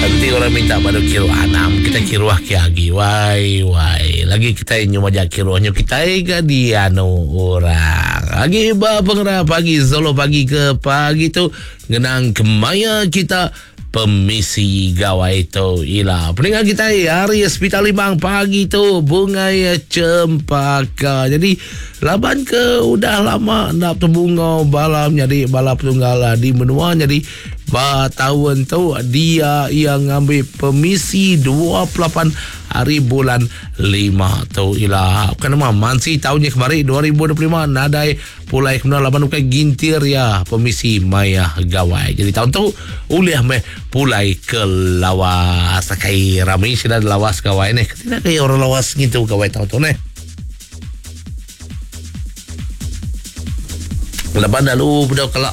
Enti orang minta badu kiruh anang kita kiruh ke agi wai wai. Lagi kitai nyu majak kiruh nyu kitai ga dianu orang. Agi ba pengerah pagi solo pagi ke pagi tu ngenang kemaya kita pemisi gawai tu ila. Peninga kitai hari Hospital Limbang pagi tu Bungai Cempaka. Jadi laban ke udah lama enda tebungau bala menyadi bala petunggal di menua jadi Ba taun tu, dia iya ngambi pemisi 28 hari bulan lima tu ila. Bukan nama, mansi taun nya kemari 2025 nadai pulai ke menua laban ukai gintir iya pemisi maya gawai. Jadi taun tu ulih meh pulai ke Lawas. Akai rami sida di Lawas gawai neh. Keti enda orang Lawas ngintu gawai taun tu neh. Laban lalu bedau kala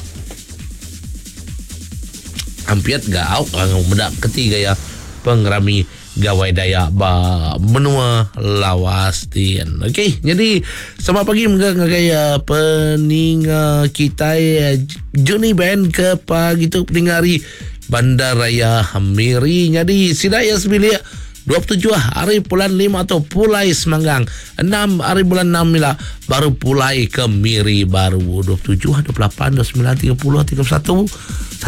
ampit ga au meda keti gaya pengerami Gawai Dayak ba menua Lawas din. Okey, jadi selamat pagi mega ngagai uh, peninga kitai uh, Johnny Band ke pagi tu peninga hari Bandaraya Miri. Jadi sida ya sebilik 27 hari bulan 5 tu pulai Semanggang. 6 hari bulan 6 ila baru pulai ke Miri baru. 27, 28, 29, 30, 31, 1,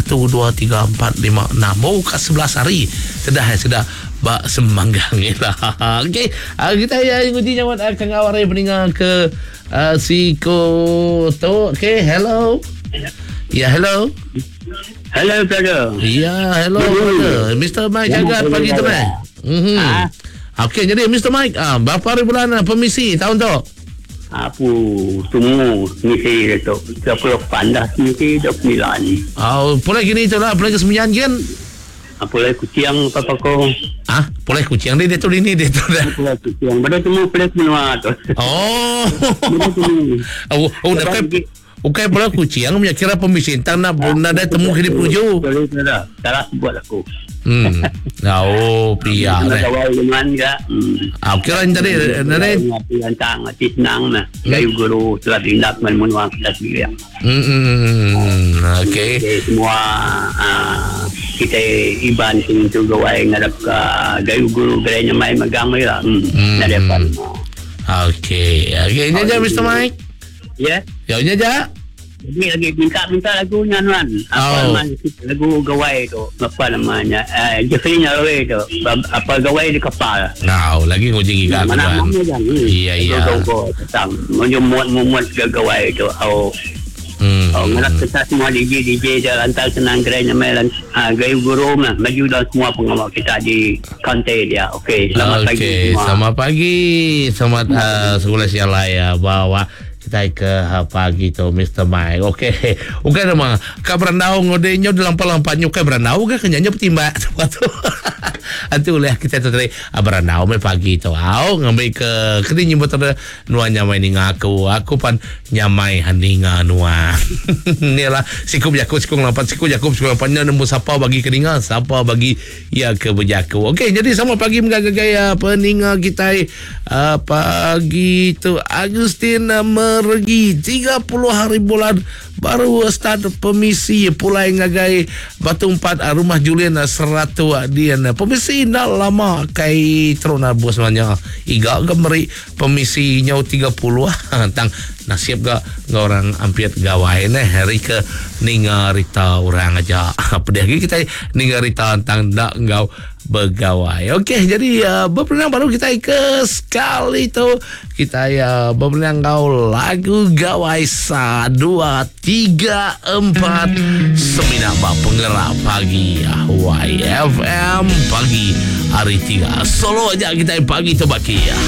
2, 3, 4, 5, 6. Oh, kat 11 hari. Sedah eh, sedah ba Semanggang ila. Okey, ah, kita ya nguji nyawat ah, kangau hari peninga ke uh, siku tu. Okey, hello. Ya, hello. Hello, brother. Ya, hello, brother. Mr. Mike Jagat pagi tu, meh. Mhm. Ah. Okey, jadi Mr. Mike, ah, berapa hari bulan ah, permisi tahun tu? Aku tunggu misi dia tu. 28 dah misi 29. Oh, pulai gini tu lah, pulai ke Sembilan kan? Apa lagi kucing apa ko? Ah, pulai kucing dia dia tu ini dia tu dah. Pulai kucing. Benda temu pulai ke menua tu. Oh. Benda temu. Oh, oh, dah Ukai pula kucing punya kira pemisi tang nak nadai temu kini peruju. Sorry dah. Salah buat aku. Hmm. Oh, pia Nak deh. gawai dengan ke. Hmm. Ah, kira ni tadi nadai. Lantang hati senang nah. Gayu guru telah tindak dengan menua kita sendiri. Hmm. hmm, Okey. Okay, semua kita Iban sini tu gawai ngadap ke gayu guru gerai nyamai megang lah. Hmm. Hmm. Nak dapat. Okey. Okey, ini aja Mr. Mike. Ya. Ya, ini aja. Jadi lagi minta-minta lagunya Nuan. Apa Oh. nama lagu gawai tu? Apa namanya? Eh, Jeffrey Nyalwe tu. Apa gawai di kapal. Nah, lagi nguji giga aku Mana kan. mana jangan. Iya, iya. Go tentang menyemut-memut ke gawai tu. Oh, Hmm. oh ngarap kita semua DJ DJ dia lantar senang gerai nyamai lan ah, gayu guru lah. Maju dalam semua pengawal kita di kantai dia. Okey, selamat pagi Okey, semua. selamat pagi. Selamat sekolah siang lah ya bawa kita ke pagi tu Mr. Mike. Okey. Okey nama. Ka berandau ngode nyo dalam lampa nyo ka berandau ke kenyanya petimbak tu. Antu oleh kita tu tadi berandau me pagi tu. Au ngambil ke kini nyebut ada nuan nyamai ninga aku. Aku pan nyamai haninga nuan. Ni lah siku berjakut siku ngelampat siku jakub siku ngelampat nemu siapa bagi keninga siapa bagi ya ke berjaku. Okey, jadi sama pagi mengagai peninga kita pagi tu Agustin Mergi 30 hari bulan baru start permisi pulai ngagai Batu 4 rumah Julian 100 dian permisi nak lama kai terus bos sebenarnya iga ke meri permisi nyau 30 tang nasib ga orang ampiat gawai neh hari ke ninga rita orang aja pedih lagi kita ninga rita tentang dak ngau begawai. Okey, jadi berperenang baru kita ke sekali tu kita ya berperenang ngau lagu gawai sa 2 3 4 semina ba penggerak pagi YFM pagi hari 3 solo aja kita pagi tu baki ya.